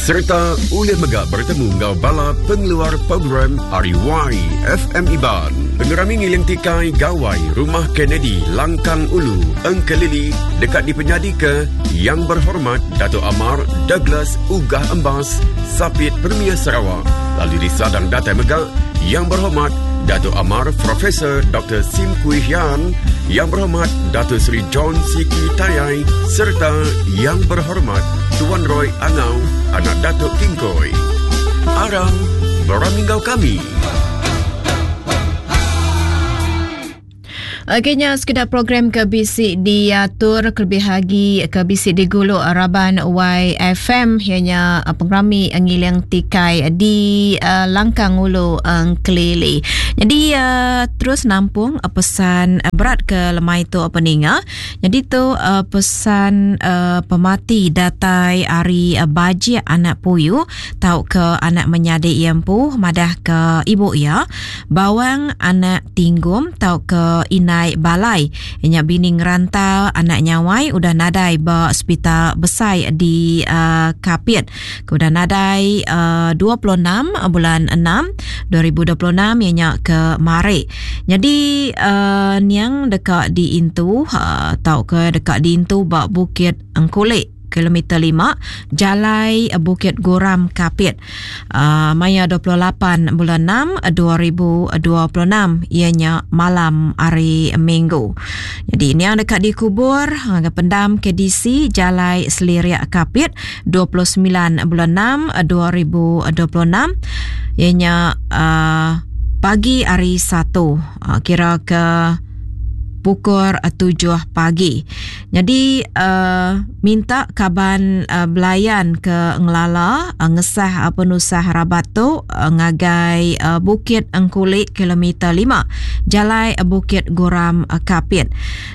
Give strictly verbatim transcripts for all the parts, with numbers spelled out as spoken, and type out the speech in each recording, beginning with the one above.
Serta ulih mega bertemu ngau bala pengeluar program R Y F M Iban. Pengerami ngiling tikai Gawai Rumah Kennedy Langkang Ulu Engkelili dekat dipenyadi ke Yang Berhormat Dato' Amar Douglas Uggah Embas Sapit Premier Sarawak. Lalu disadang datai mega Yang Berhormat Dato' Amar Profesor Doktor Sim Kui Hian, Yang Berhormat Dato' Seri John Siki Tayai serta Yang Berhormat Tuan Roy Angau, anak Datuk Kingkoi. Aram beramingau kami. Akhirnya sekedar program ke bisi diatur kelebih lagi ke bisi diguluk Raban Y F M ianya pengerami ngiling tikai di uh, Langkang Ulu Engkelili. Jadi uh, terus nampung uh, pesan uh, berat ke lemai tu apa ninga. Jadi tu uh, pesan uh, pemati datai ari uh, bajik anak puyu tau ke anak menyadi iempu madah ke ibu ia bawang anak tinggum tau ke ina naik balai nya bini ngerantau anak nyawai udah nadai ba hospital besai di uh, Kapit. Udah nadai uh, dua puluh enam bulan enam dua ribu dua puluh enam nya ke mari. Jadi uh, niang dekat di intu uh, tau ke dekat di intu ba Bukit Engkulik kilometer lima Jalai Bukit Goram Kapit. Uh, maya dua puluh lapan bulan enam dua ribu dua puluh enam ianya malam hari Minggu. Jadi ini yang dekat dikubur ke pendam K D C Jalai Seliriak Kapit dua puluh sembilan bulan enam dua ribu dua puluh enam ianya uh, pagi hari Satu uh, kira ke pukul tujuh pagi. Jadi uh, minta kaban uh, belayan ke ngelala uh, ngesah uh, penusah rabat tu uh, ngagai uh, Bukit Engkulik kilometer lima Jalai Bukit Goram uh, Kapit.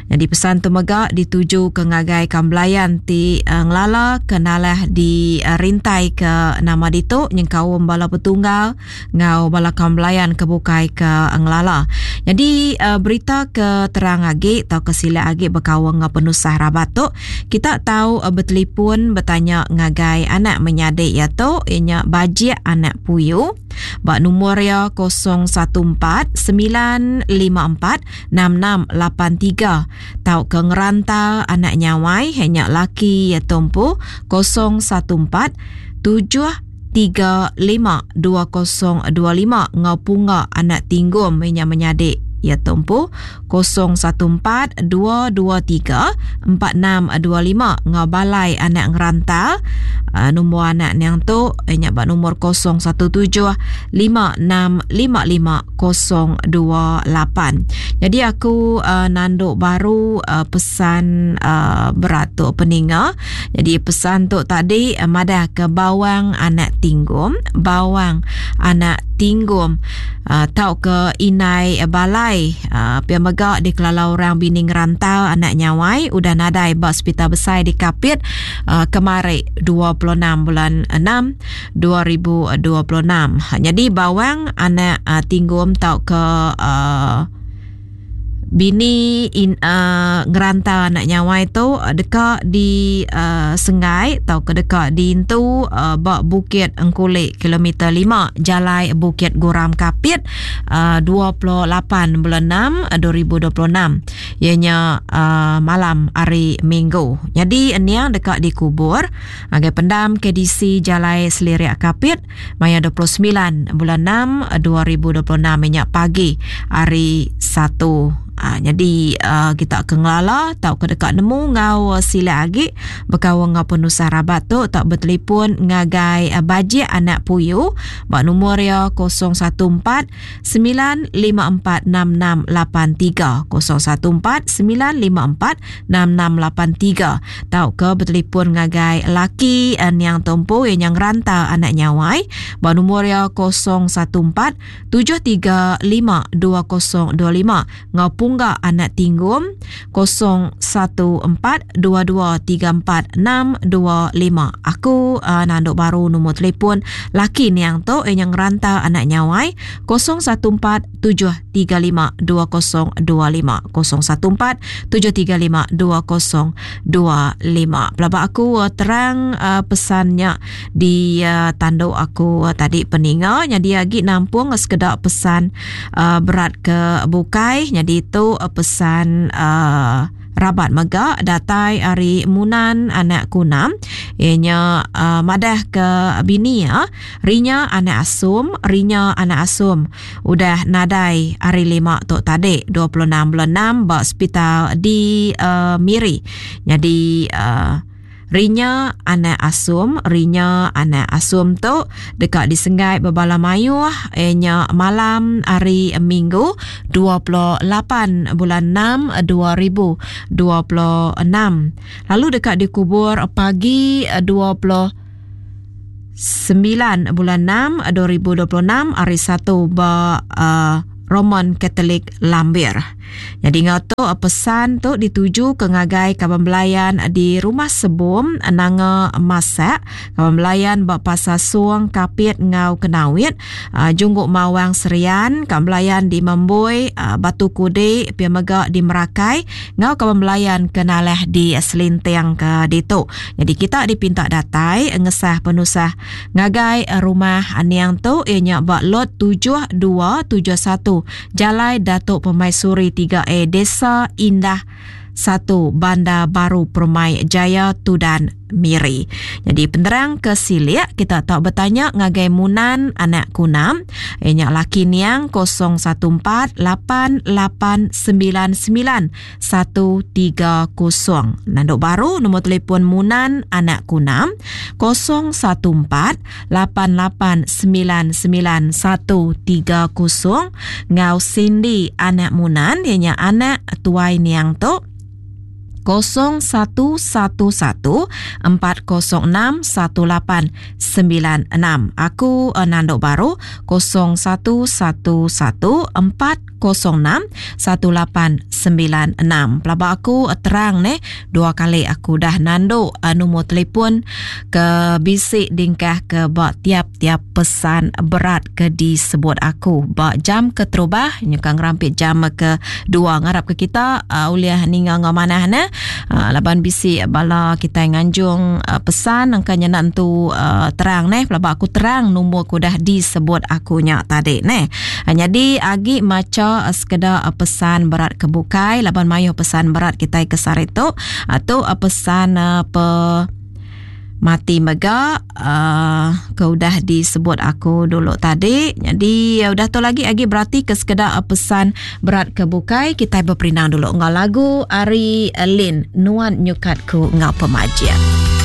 Jadi pesan tu mega dituju ke ngagai kam belayan ti uh, ngelala kenalah di uh, rintai ke nama ditu nyengkaum bala petunggal ngau bala kam belayan ke bukai ke ngelala. Jadi uh, berita ke terang agi atau ke sila agi berkawang ngau penusah rabat tu kita tahu uh, bertelefon bertanya ngagai anak menyadik ya tu ianya bajik anak puyu bak nombor ya kosong satu empat sembilan lima empat enam enam lapan tiga tau ke ngerantau anak nyawai hanya laki ya tumpu kosong satu empat tujuh tiga lima dua kosong dua lima ngau punga anak tinggum ianya menyadik ya tumpu kosong satu empat dua dua tiga empat enam dua lima ngau balai anak ngerantau uh, nombor anak yang tu ianya bak nombor kosong satu tujuh lima enam lima lima kosong dua lapan. Jadi aku uh, nanduk baru uh, pesan uh, berat tu peninga. Jadi pesan tu tadi uh, madah ke bawang anak tinggum, bawang anak tinggum uh, tau ke inai uh, balai uh, pia mega di kelala orang bini ngerantau anak nyawai udah nadai ba hospital besai di Kapit uh, kemari dua puluh enam bulan enam dua ribu dua puluh enam. Jadi bawang anak uh, tinggum tau ke uh, bini in, uh, ngerantau anak nyawai tu uh, dekat di uh, Sengai atau ke dekat di Intu uh, bak Bukit Engkulik kilometer lima Jalai Bukit Goram Kapit uh, dua puluh lapan bulan enam dua ribu dua puluh enam ianya uh, malam hari Minggu. Jadi niang dekat dikubur agai pendam K D C Jalai Seliriak Kapit maya dua puluh sembilan bulan enam dua ribu dua puluh enam minyak pagi hari Satu. Ha, jadi uh, kita ke ngelala tau ke dekat nemu ngau uh, sila agi berkawan ngau penusah rabat tu tak bertelefon ngagai uh, bajik anak puyu bak nombor ya kosong satu empat sembilan lima empat enam enam lapan tiga kosong satu empat sembilan lima empat enam enam lapan tiga tau ke bertelefon ngagai laki uh, yang tumpu yang rantau anak nyawai bak nombor ya kosong satu empat tujuh tiga lima dua kosong dua lima ngau Pungga anak tinggum kosong satu empat dua dua tiga empat enam dua lima. Aku Aku uh, nanduk baru nombor telefon laki niang tu yang ngerantau anak nyawai kosong satu empat tujuh tiga lima dua kosong dua lima kosong satu empat tujuh tiga lima dua kosong dua lima. Pelaba aku uh, terang uh, pesannya di uh, tanduk aku uh, tadi peninga. Jadi agi nampung sekedak pesan uh, berat ke bukai. Jadi itu uh, pesan uh, rabat mega datai ari Munan anak Kunam. Ianya uh, madah ke bini ya, rinya anak asum, rinya anak asum udah nadai hari lima tu tadi dua puluh enam bulan enam ba hospital di uh, Miri. Jadi uh, rinya anak asum, rinya anak asum tu dekat disenggai berbala mayuh ianya malam hari Minggu dua puluh lapan bulan enam dua ribu dua puluh enam. Lalu dekat dikubur pagi dua puluh sembilan bulan enam dua ribu dua puluh enam hari Satu ba uh, Roman Katolik Lambir. Jadi ngau tu pesan tu dituju ke ngagai kaban belayan di Rumah Sebum Nanga Masak, kaban belayan ba Pasar Suang Kapit ngau Kenawit, uh, Jungguk Mawang Serian, kaban belayan di Membui, uh, Batu Kudik, pia mega di Merakai, ngau kaban belayan kenalah di Selinting ke ditu. Jadi kita dipinta datai ngesah penusah ngagai rumah aniang tu ianya ba lot tujuh dua tujuh satu Jalai Datuk Permaisuri tiga A Desa Indah satu Bandar Baru Permai Jaya Tudan Miri. Jadi penerang ke silik kita tak bertanya ngagai Munan anak Kunam ianya laki niang kosong satu empat lapan lapan sembilan sembilan satu tiga kosong. Nanduk baru nombor telefon Munan anak Kunam kosong satu empat lapan lapan sembilan sembilan satu tiga kosong. Ngau Cindy anak Munan ianya anak tuai niang tu kosong satu satu satu empat kosong enam satu lapan sembilan enam. Aku uh, nanduk baru kosong satu satu satu empat kosong enam satu lapan sembilan enam. Pelaba aku uh, terang ne dua kali aku dah nanduk uh, nombor telefon ke bisik dingkah ke bak tiap-tiap pesan berat ke disebut aku. Bak jam keterubah nyukang rampit jam ke dua ngarap ke kita uh, uliah ninga ngau manah ne. Uh, laban bisi bala kita nganjung uh, pesan angkanya nak tu uh, terang neh. Pelaba aku terang nombor aku dah disebut akunya tadi neh. Uh, jadi agi maca uh, sekedar uh, pesan berat kebukai laban mayu pesan berat kita ke saritu atau uh, pesan uh, pe mati mega uh, ke udah disebut aku dulu tadi. Jadi uh, udah tu lagi lagi berarti ke sekedar uh, pesan berat ke bukai kita berperindang dulu ngau lagu Ari Lin Nuan Nyukatku ngau pemajian.